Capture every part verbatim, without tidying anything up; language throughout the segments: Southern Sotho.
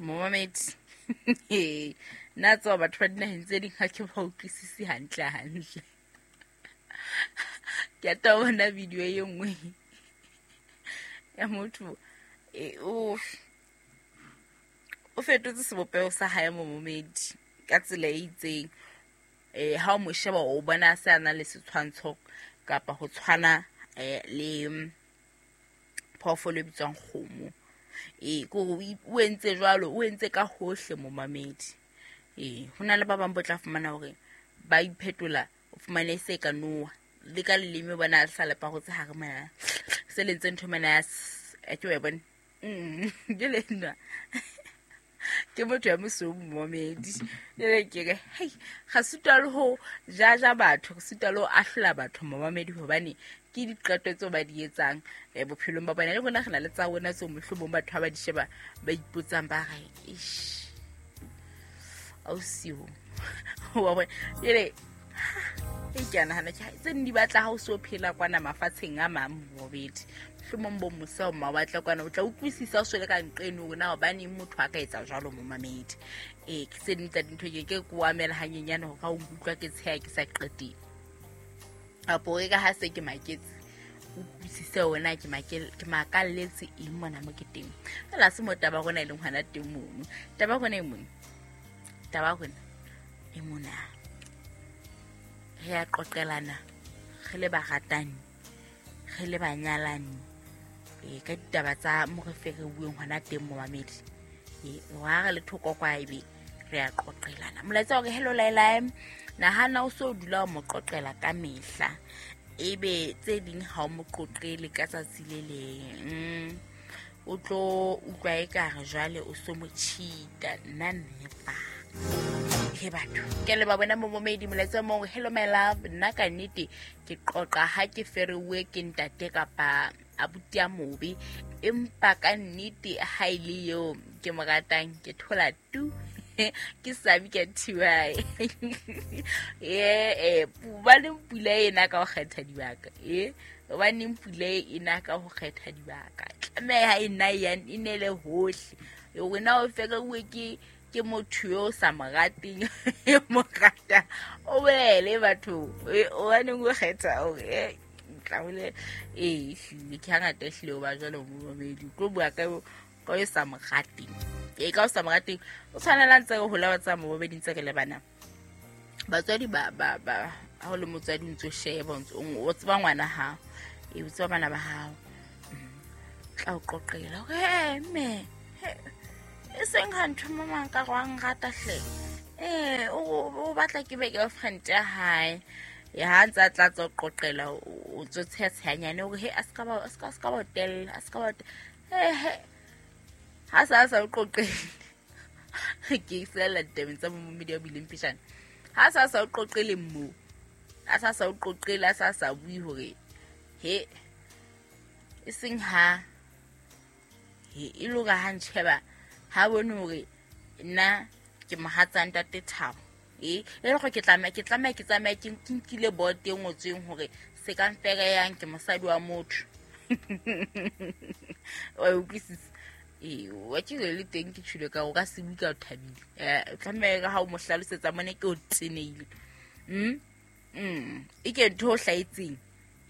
Momamedi nna tseba batho ba dinaheng tse ding ha ke ba utlwisisi hantle hantle. Ke a ta bona video e nngwe ya motho e o o fetotse sebopeho sa hae momamedi ka tsela e itseng. Eh ha o mo sheba o bona se a na le setshwantsho kapa ho tshwana eh le phoofolo e bitswang kgomo. E ko o entse jwalo, o entse ka hohle momamedi. E ho na le ba bang bo tla fumana hore ba iphetola, o fumane se ka noa le ka leleme bona sa lepa go tse hare mona se lentse ntho mona ya ke wa bona. Mm ke le nna ke motho ya mosweu momamedi. Jwale ke re hei ga sutwa le ho jaja batho, re sutwa le ho ahlola batho momamedi, hobane ke diqeto tseo ba di etsang eh bophelong ba bona. Le rona re na le tsa rona tseo mohlomong batho ha ba di sheba ba ipotsang ba re eish ausi wa bona. Jwale e ke a nahana ke tse di batla ha o so phela kwana mafatsheng a mang momamedi, mohlomong bo mose o mawatle kwana o tla utlwisisa o swele ka nqeno hore na hobaneng motho a ka etsa jwalo momamedi. Eh ke tse ding tsa dintho ke ke ko amela hanyenyane hore ha o nkutlwa ke tsheha ke sa qeteng apo e ka ha se ke maketse utlwisise hore na ke makele ke makalletse eng mona mo ke teng. Fela se mo taba rona e leng hona teng mono. Taba rona e mona, taba rona e mona re a qoqelana re le baratani re le banyalani e ka ditaba tsa mo re fe re bueng hona teng momamedi. E wa re le thoko kwa ebe re a qoqelana. Molaetsa hore hello Laila, nahana o so dula o mo qoqela ka mehla ebe tse ding ha o mo qoqele ka tsatsi le leng o tlo utlwa ekare jwale o so mo cheat-a. Nna nepa he batho ke le ba bona momamedi. Molaetsa mong hello my love, nna ka nnete ke qoqa ha ke ferewe ke ntate kapa abuti a mobe, empa ka nnete ha ile eo ke mo ratang ke thola tu ke sabi ka thiwae. Eh eh ba le pula ena ka ho kgetha dibaka, eh hobaneng pula ena ka ho kgetha dibaka tlameha e nna ya e nele hohle. Wena o ferewe ke ke motho yo sa mo rateng mo rata o bolele batho hobaneng o kgetha hore tla bole eh hlile ke hangata hlile o ba jwalo momamedi o tlo bua ka ka o sa mo rateng. E ka o sa mo rateng o tshwanela ntse re hola ba tsa momamedi ntse re le bana batswadi ba ba ba ha o le motswadi o ntso sheba o ntso o tseba ngwana hao e o tseba bana ba hao tla o qoqela hore he mme e seng ha ntho mama nka go rata hle eh o batla ke be girlfriend ya hae. Ya ha ntse a tla tsa qoqela o tso tshetshanyane hore he a ska ba a ska ska ba tella a ska ba he ha sa sa o qoqele ke sela ditabeng tsa momamedi ya bileng pejana ha sa sa o qoqele mo a sa sa o qoqele a sa sa bue hore he e seng ha he e loka ha ntsheba ha bone hore nna ke mohatsa ntate Thabo e e le gore ke tlameha ke tlameha ke tsamaye ke nkile board e ngotsweng hore se ka mfereyang ke mosadi wa motho. O utlwisisa e wa ke le teng ke tshule ka o ka se bue ka o thabile eh tlameha ha o mo hlalosetsa mone ke o teneile mm mm e ke ntho o hlaetseng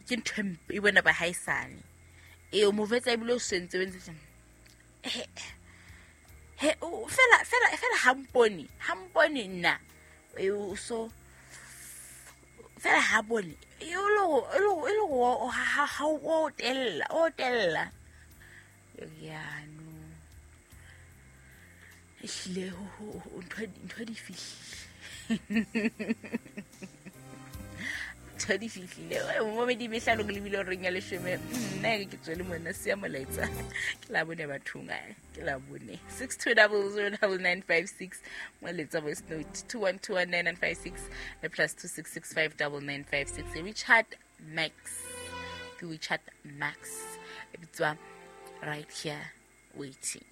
ke ntho e bona ba haisane e o mo vetsa ebile o sentse o ntse he he o fela fela fela ha mpone ha mpone nna e o so fela ha bone e o lo e lo o ha ha o tella o tella ya no ehlile ho ntho ntho di fihlile ntho di fihlile momamedi mehlano ke lebile reng ya leshome nna ke tswele mona se ya molaetsa ke la bone bathong ke la bone six two zero zero nine nine five six moletsa voice note two one two one nine nine five six le plus two six six five nine nine five six. Richard Max ke Richard Max e bitswa right here waiting.